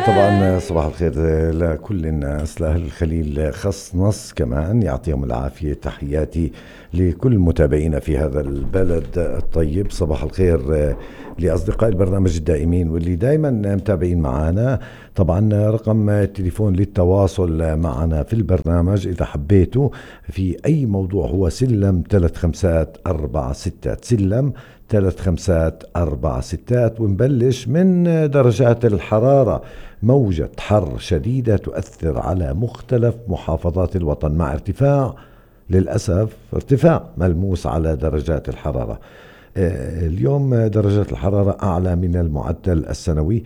طبعا صباح الخير لكل الناس، لأهل الخليل خص نص كمان، يعطيهم العافية. تحياتي لكل متابعينا في هذا البلد الطيب. صباح الخير لأصدقاء البرنامج الدائمين واللي دائما متابعين معنا. طبعا رقم التليفون للتواصل معنا في البرنامج إذا حبيتوا في أي موضوع هو سلم 3-5-4-6 سلم 3-5-4-6. ونبلش من درجات الحرارة. موجة حر شديدة تؤثر على مختلف محافظات الوطن مع ارتفاع، للأسف ارتفاع ملموس على درجات الحرارة. اليوم درجات الحرارة أعلى من المعدل السنوي،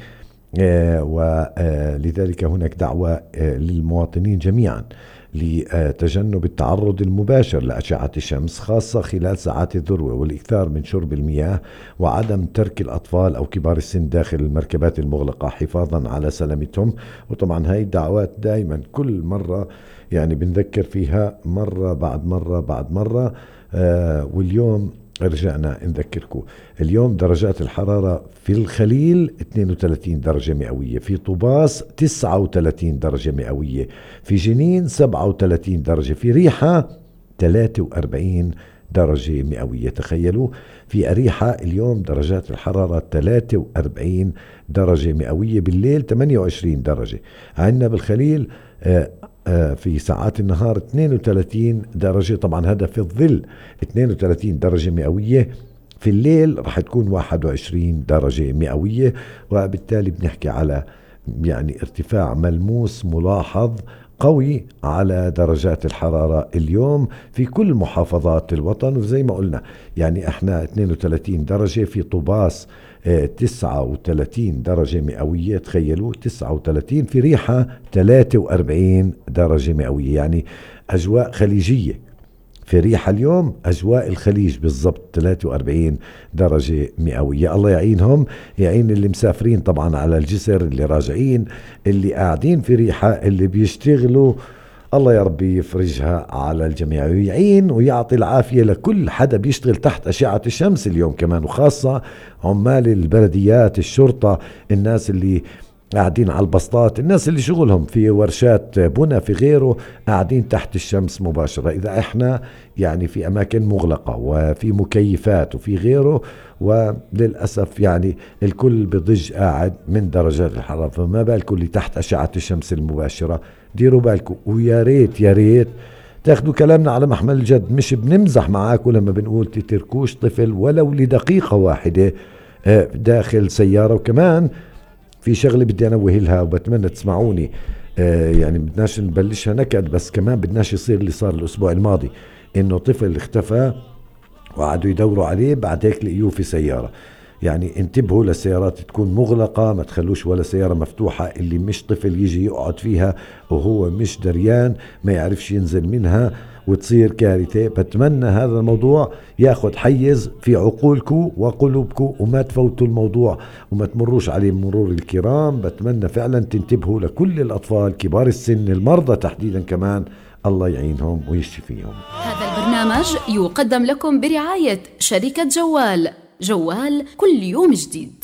ولذلك هناك دعوة للمواطنين جميعا لتجنب التعرض المباشر لأشعة الشمس خاصة خلال ساعات الذروة، والإكثار من شرب المياه، وعدم ترك الأطفال أو كبار السن داخل المركبات المغلقة حفاظا على سلامتهم. وطبعا هاي الدعوات دائما كل مرة يعني بنذكر فيها مرة بعد مرة بعد مرة. واليوم رجعنا نذكركم. اليوم درجات الحرارة في الخليل 32 درجة مئوية، في طوباس 39 درجة مئوية، في جنين 37 درجة، في ريحة 43 درجة مئوية. تخيلوا في أريحة اليوم درجات الحرارة 43 درجة مئوية، بالليل 28 درجة. عندنا بالخليل في ساعات النهار 32 درجة، طبعا هذا في الظل 32 درجة مئوية، في الليل رح تكون 21 درجة مئوية. وبالتالي بنحكي على يعني ارتفاع ملموس ملاحظ قوي على درجات الحرارة اليوم في كل محافظات الوطن. وزي ما قلنا يعني احنا 32 درجة، في طوباس 39 درجة مئوية، تخيلوا 39، في ريحة 43 درجة مئوية، يعني أجواء خليجية في ريحة اليوم، أجواء الخليج بالضبط 43 درجة مئوية. الله يعينهم، يعين اللي مسافرين طبعا على الجسر، اللي راجعين، اللي قاعدين في ريحة، اللي بيشتغلوا، الله يا ربي يفرجها على الجميع ويعين ويعطي العافية لكل حدا بيشتغل تحت أشعة الشمس اليوم كمان، وخاصة عمال البلديات، الشرطة، الناس اللي قاعدين على البسطات، الناس اللي شغلهم في ورشات بنا في غيره، قاعدين تحت الشمس مباشرة. إذا احنا يعني في أماكن مغلقة وفي مكيفات وفي غيره، وللأسف يعني الكل بضج قاعد من درجات الحرارة، فما بالكم اللي تحت أشعة الشمس المباشرة. ديروا بالكم، ويا ريت يا ريت تاخدوا كلامنا على محمل الجد، مش بنمزح معاكم لما بنقول تتركوش طفل ولو لدقيقة واحدة داخل سيارة. وكمان في شغلة بدي أنوه لها وبتمنى تسمعوني، يعني بدناش نبلشها نكد، بس كمان بدناش يصير اللي صار الأسبوع الماضي، إنه طفل اختفى وقعدوا يدوروا عليه، بعد هيك لقيوه في سيارة. يعني انتبهوا للسيارات تكون مغلقة، ما تخلوش ولا سيارة مفتوحة، اللي مش طفل يجي يقعد فيها وهو مش دريان، ما يعرفش ينزل منها وتصير كارثة. بتمنى هذا الموضوع ياخد حيز في عقولكم وقلوبكم، وما تفوتوا الموضوع وما تمروش عليه مرور الكرام. بتمنى فعلا تنتبهوا لكل الأطفال، كبار السن، المرضى تحديدا كمان، الله يعينهم ويشفيهم. هذا البرنامج يقدم لكم برعاية شركة جوال، جوال كل يوم جديد.